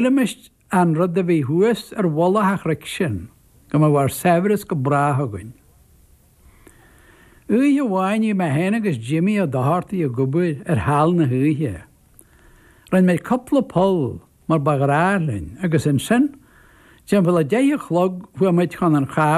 Shílimis an rud a bhí thuas ar mhullach an chnoic sin, go mbeadh ár saibhreas go brách againn. Oíche amháin bhí mé féin agus Jimmy Ó Dochartaigh ag obair ar sheal na hoíche. Rinne muid cúpla poll mar ba ghnách linn agus ansin, timpeall a deich a chlog chuaigh muid chun an chábáin.